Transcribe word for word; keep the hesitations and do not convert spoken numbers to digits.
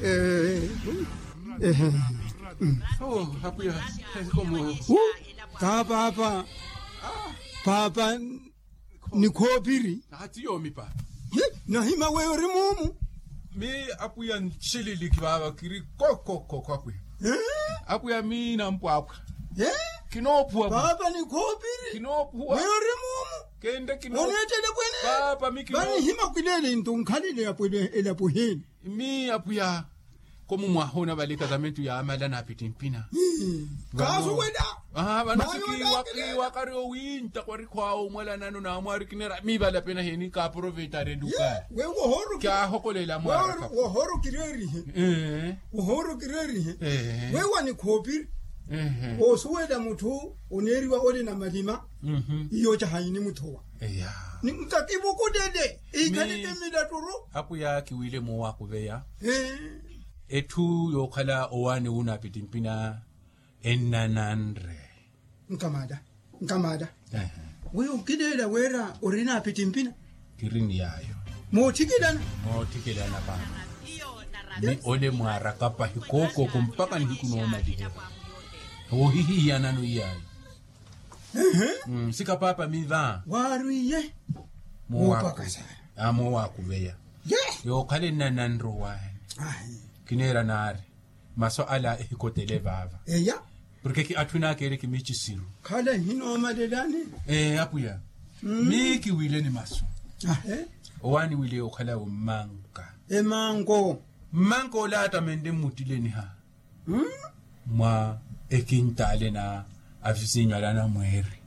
Ehe. Ehe. Oh, apuya. Komo. Hu. Ka paapa. Paapa. Nikhoopiri. Hati yoomi paapa. Nahima weyo ori muumu. Mi apuya nshililiki paapa kiri kokokoko apuya. Apuya mi nampwaapwa. Kinoophuwa paapa nikhoopiri. Kinoophuwa. Weyo ori muumu. Kende kinoophuwa. Oneettele pwene. Paapa mi kinoophuwa. Vani hima khwileele nto nkhalele elapo heni. Mi apuya. Komu mwaha onavale ekazamentu yaamala naapittimpina. Kaasu wela. Vano sikiiwa kiiwa kari owintta kwarikhwaawo omwalanano naamwaari kineera miivala pena heni kaaproveitari eluka. Wewe wohooro kyahokolela mwaara. Wohooro kireerihe. Wohooro kireerihe. Wewe wanikhoopiri. Osuwela mutthu oneeriwa oli na malima. Iyo cahayi nimuthowa. Nkakivukutele. Ikhaleke milatturu. Apuya kiwile moowakuveya. Etthu yookhala owaani wunaapittimpina ennananre. Nkamaada. Nkamaada. Weyo nkileela wira ori naapittimpina. Kiri ni yaayo. Mootthikelana. Mootthikelana paapa. Mi ole mwaaraka pahi kookoko mpakha nihiku noomalihela. Woohihiyanano iyaayo. Sika paapa mi va waarwiye. Moowakuveya. Yookhala ennananre owaani. Kineera naari masu ala ehikotele vaava. Eya. Porke ki atthu enaakeereke miicisiru. Khala ehinoomalelani. Ee apuya. Mi kiwile ni masu. Owaani wile okhala wo mmanka. Emanko. Mmanka ole atamenle mmuttileniha. Mwa ekintaale na avisinyu ale anamweeri.